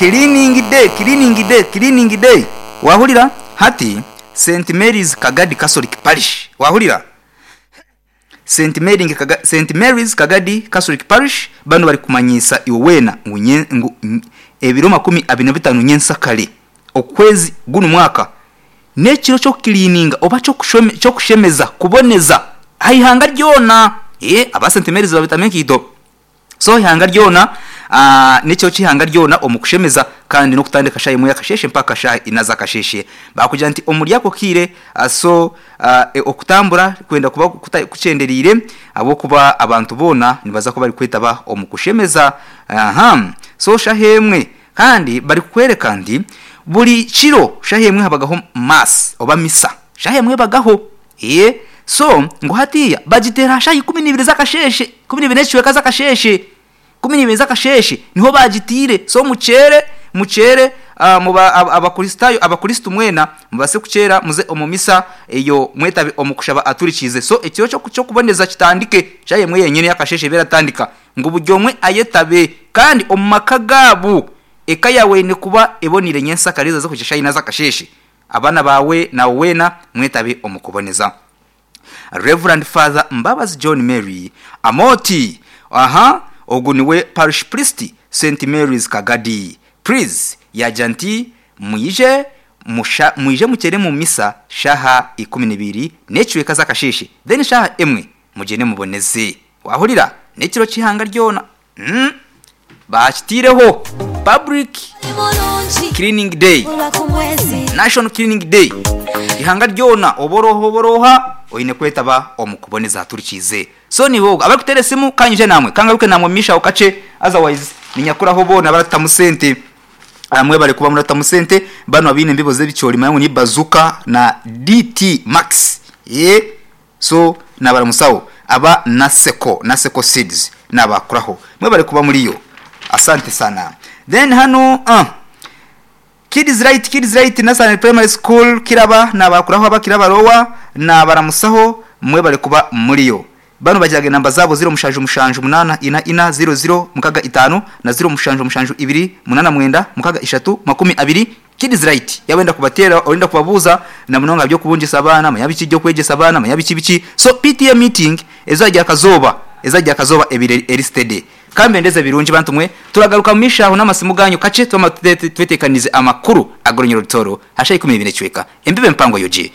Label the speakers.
Speaker 1: Cleaning day, cleaning day, cleaning day Wahurira? Hati Saint Mary's Kagadi Catholic Parish Wahurira? Saint Mary Saint Mary's Kagadi Catholic Parish banu bari kumanyiisa iwe weena ngu nye ngu ebiro 25 Nyensakare okwezi gunu mwaka n'ekiro ky'okukiliininga oba ky'okushemeza, kuboneza, aha ihanga ryona. Eeh aba Saint Mary's babitamu enkaito. So eihanga ryona, n'ekiro ky'eihanga ryona omu kushemeza kandi n'okutandika shaaha emwe y'akasheeshe mpaka shaaha ina z'akasheeshe. Baakugira nti omuri ako kaire, so okutambura kwenda kuba kukyendereire ahabw'okuba abantu boona nibaza kuba barikwetaba omu kushemeza. Aha. So shaaha emwe Kandi barikukwereka nti buri kiro shaaha emwe habagaho mass oba misa. Shaaha emwe ebagaho. Eeh. So, ngu hatiiya bagiteera aha shaaha 12 z'akasheeshe, 12 n'ekicweka z'akasheeshe. 12 z'akasheeshe niho baagiteire. So mukyere, mukyere muba Abakristaayo, Abakristo mwena mubaase kukyera muze omu misa eyo mwetabe omu kushaba aturikiize. So ekiro ky'okuboneza kitandike shaaha emwe yenyine y'akasheeshe ebe eratandika. Ngu buri omwe ayetabe, kandi omu maka gaabo eka yaawe eine kuba eboneire nyensakare ezo z'okuhikya shaaha ina z'akasheeshe. Abaana baawe naiwe weena mwetabe omu kuboneza. Rev. Father Mbabazi John Mary Amooti, aha ogu niwe Parish Priest Saint Mary's Kagadi. Please yaagira nti mwije musha mwije mukyere mu misa shaaha 12 n'ekicweka z'akasheeshe then shaaha emwe Mugyende muboneze. Wahurira? N'ekiro ky'eihanga ryona. Umm. Baakitaireho. Public Cleaning Day. National Cleaning Day. Eihanga ryona, oba ori oha oba ori oha, oine kwetaba omu kuboneza haturikiize. So niiwe ogwo. Abarikuteera esimu, ka nyije naamwe. Ka ngaruke naamwe omu maisho aho kakye. Otherwise, niinyakuraho boona abaratutamu sente. Mwebare kuba muratamu sente. Banu abaine embibo z'ebicoori manya ngu ni Bazooka na DT Max. Eeh. So nabaramusaho aba Naseko, Naseko seeds nabakuraho mwebare kuba muriyo asante sana then hanu uh Kids right kids right Nursery primary school Kiraba nabakuraho aba Kiraba lower nabaramusaho mwebare kuba muriyo banu bagiraga enamba zabo 0 7 7 8 4 4 0 0 6 5 na 0 7 7 2 8 9 6 3 20 Kids right yaba oyenda kubateera orenda kubabuuza na munonga aha by'okubungisa abaana manya biki by'okwegyesa abaana manya biki biki so PTA meeting ezaagira akazooba ezaagira akazooba ebaire eri steady. Ka mbendeze birungi bantu mwe turagaruka mu maisho aho n'amasimu gaanyu kakye twamara tweteekaniize amakuru ag'orunyoro rutooro aha shaaha 12 n'ekicweka. Embibo empango yogi.